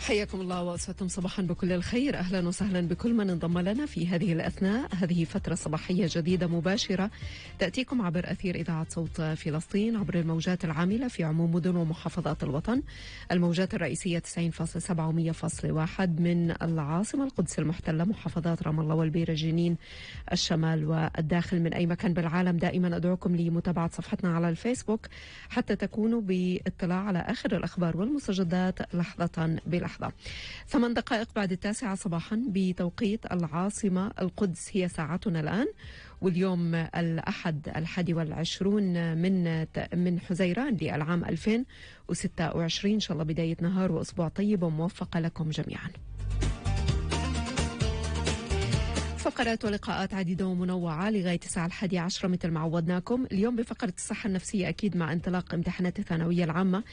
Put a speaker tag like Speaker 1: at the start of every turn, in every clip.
Speaker 1: حياكم الله وأسعدتم صباحا بكل الخير. أهلا وسهلا بكل من انضم لنا في هذه الأثناء. هذه فترة صباحية جديدة مباشرة تأتيكم عبر أثير إذاعة صوت فلسطين عبر الموجات العاملة في عموم مدن ومحافظات الوطن. الموجات الرئيسية 90.7 و 100.1 من العاصمة القدس المحتلة، محافظات رام الله والبيرة جنين الشمال والداخل. من أي مكان بالعالم دائما أدعوكم لمتابعة صفحتنا على الفيسبوك حتى تكونوا باطلاع على آخر الأخبار والمستجدات لحظة بلحظة. 8 دقائق بعد 9 صباحا بتوقيت العاصمة القدس هي ساعتنا الآن. واليوم الأحد 21 من حزيران للعام 2026. إن شاء الله بداية نهار وأسبوع طيب وموفقة لكم جميعا. فقرات ولقاءات عديدة ومنوعة لغاية الساعة 11 مثل ما عودناكم. اليوم بفقرة الصحة النفسية أكيد مع انطلاق امتحانات الثانوية العامة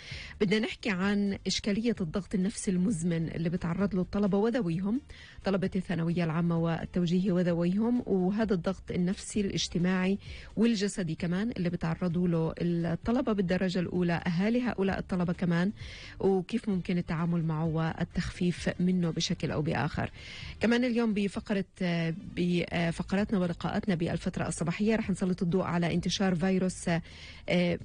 Speaker 1: بدنا نحكي عن إشكالية الضغط النفسي المزمن اللي بتعرض له الطلبة وذويهم، طلبة الثانوية العامة والتوجيهي وذويهم، وهذا الضغط النفسي الاجتماعي والجسدي كمان اللي بتعرضوا له الطلبة بالدرجة الأولى، أهالي هؤلاء الطلبة كمان، وكيف ممكن التعامل معه والتخفيف منه بشكل أو بآخر. كمان اليوم بفقراتنا ولقاءاتنا بالفترة الصباحية رح نسلط الضوء على انتشار فيروس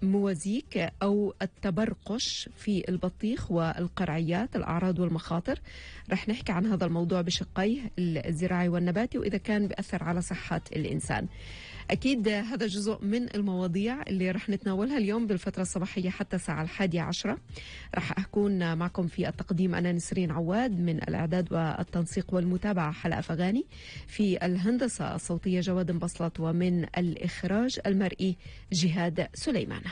Speaker 1: موازيك أو التبرقش في البطيخ والقرعيات، الأعراض والمخاطر. رح نحكي عن هذا الموضوع بشقيه الزراعي والنباتي وإذا كان بيأثر على صحة الإنسان. أكيد هذا جزء من المواضيع اللي رح نتناولها اليوم بالفترة الصباحية حتى الساعة 11. رح أكون معكم في التقديم أنا نسرين عواد، من الإعداد والتنسيق والمتابعة حلقة فغاني، في الهندسة الصوتية جواد مبسلط، ومن الإخراج المرئي جهاد سليمان.